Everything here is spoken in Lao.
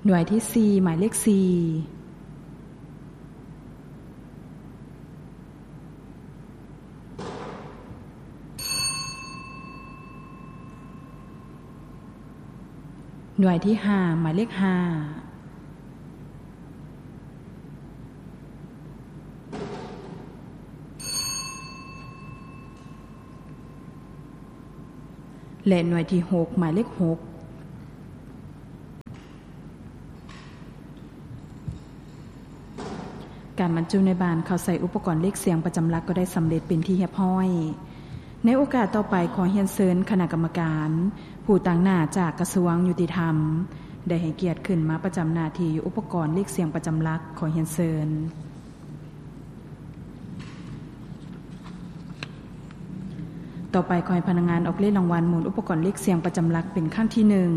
ໜ່ວຍທີສີ່ ໝາຍເລກສີ່ ໜ່ວຍທີຫ້າ ໝາຍເລກຫ້າ ແລະ ໜ່ວຍທີຫົກ ໝາຍເລກຫົກ. ການບັນຈຸໃນບານເຂົ້າໃສ່ອຸປະກອນເລກສຽງປະຈຳຫຼັກກໍໄດ້ສຳເລັດເປັນທີ່ຮຽບຮ້ອຍ. ໃນໂອກາດຕໍ່ໄປ ຂໍຮຽນເຊີນຄະນະກຳມະການຜູ້ຕາງໜ້າຈາກກະຊວງຍຸຕິທຳ ໄດ້ໃຫ້ກຽດຂຶ້ນມາປະຈຳໜ້າທີ່ຢູ່ອຸປະກອນເລກສຽງປະຈຳຫຼັກ. ຂໍຮຽນເຊີນ. ຕໍ່ໄປ ຂໍໃຫ້ພະນັກງານອອກເລກລາງວັນໝູນອຸປະກອນເລກສຽງປະຈຳຫຼັກເປັນຄັ້ງທີໜຶ່ງ.